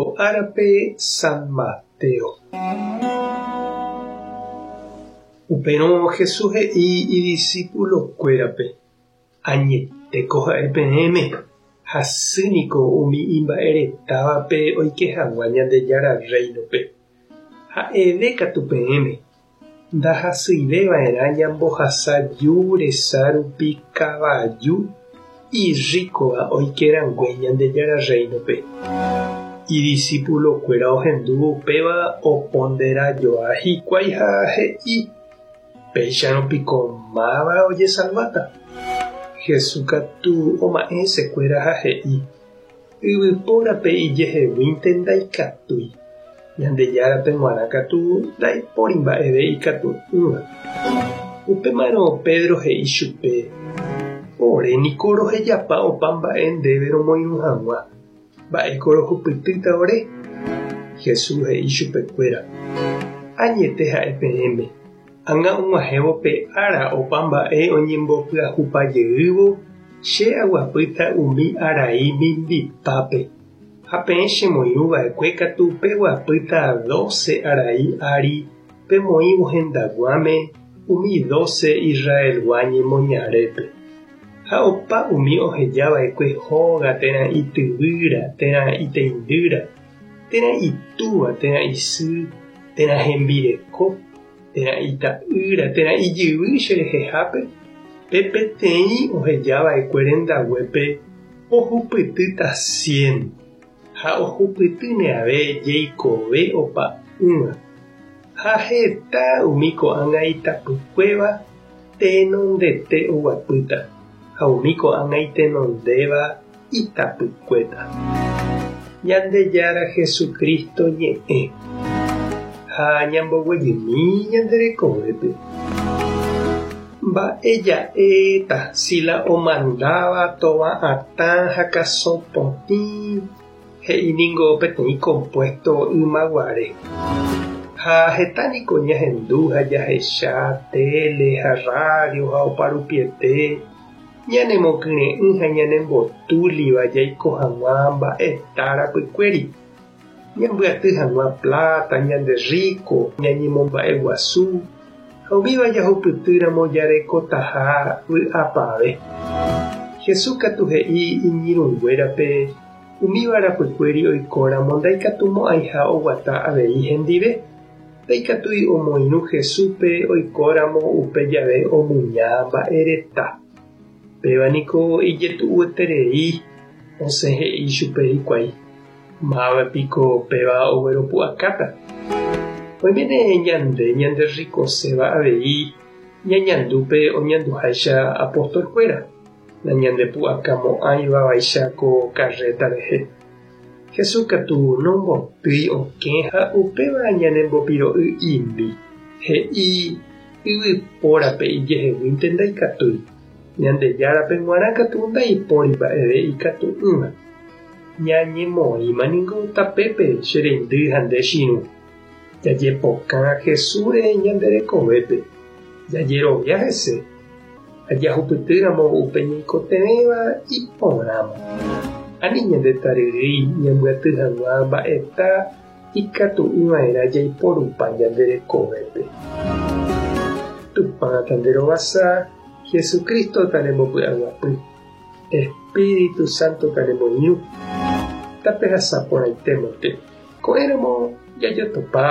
Ko árape San Mateo. Upérõ Jesús he'i idisípulokuérape, Añetéko ha'e peẽme, hasy niko umi imba'eretávape oike hag̃ua Ñandejára Rréinope. Ha'eve katu peẽme, Ndahasyive va'erã ñambohasa ju resa rupi kavaju irríkova oike rangue Ñandejára Rréinope. Idisipulokuéra ohendúvo upéva opondera joa hikuái ha he'i, Péicharõ piko máva ojesalváta? Jesús katu oma'ẽ hesekuéra ha he'i, Yvypórape ijeheguínte ndaikatúi, Ñandejárape g̃uarã katu ndaipóri mba'eve ikatu'ỹva. Upémarõ Pedro he'i chupe, Ore niko rohejapa opa mba'e ndéve romoirũ hag̃ua, mba'éiko rohupytýta ore? Jesús he'i chupekuéra, Añete ha'e peẽme, Ág̃a og̃uahẽvo pe ára opa mba'e oñembopyahupa jeývo, che aguapýta umi arai mimbipápe, ha peẽ chemoirũ va'ekue katu peguapýta dóse arai ári pemoĩvo hendaguãme umi dóse Israelgua ñemoñarépe. Ha opa umi oheja va'ekue hóga térã ityvýra térã iteindýra, térã itúva térã isy térã hembireko, térã ita'ýra, térã ijyvy che rehehápe, pe peteĩ oheja va'ekue rendaguépe ohupytýta cien, ha ohupytýne ave jeikove opa'ỹva. Ha heta umi ko'ág̃a itapykuéva tenondete oguapýta, ha umi ko'ág̃a itenondéva itapykuéta. Ñandejára Jesucristo ñe'ẽ ha ñamboguejymi ñande rekovépe. Mba'e ja'éta si la omandáva tova atã ha kasõ potĩ he'i ningo peteĩ compuesto ymaguare. Ha heta niko ñahendu ha jahecha téle ha radio ha oparupiete Ñanemokyre'ỹ ha ñanembotúliva jaiko hag̃ua mba'eta rapykuéri, ñambyaty hag̃ua pláta, ñande rríko, ñañemomba'eguasu ha umíva jahupytýramo jarekotaha vy'apave. Jesús katu he'i iñirũnguérape umíva rapykuéri oikóramo ndaikatumo'ãiha oguata avei hendive. Ndaikatúi omoirũ Jesúspe oikóramo upe jave omuña mba'ereta. Péva niko ijetu'ueterei osẽ he'i chupe hikuái, Máva piko péva ogueropu'akáta? Oiméne ñande ñanderrikoséva avei ñañandu pe oñanduháicha apostolkuéra, nañandepu'akamo'ãiva vaicha ko karréta rehe. Jesús katu nombotýi okẽ ha upéva ñanembopiro'y imi, he'i yvypórape ijeheguínte ndaikatúi, Ñandejárape g̃uarã katu ndaipóri mba'eve ikatu'ỹva. Ñañemoĩma ningo tapépe che reindy ha nde chirũ. Jajepokã Jesúsre ñande rekovépe, jajerovia hese ha jahupytýramo upe ñaikotevẽva iporãma. Ani ñande taryrýi ñambyaty hag̃ua mba'eta ikatu'ỹva'erã jaiporupa ñande rekovépe. Tupã tanderovasa, Jesucristo tanembopy'aguapy, Espíritu Santo tanemoirũ. Tapehasa porãitémante. Ko'ẽramo jajotopa.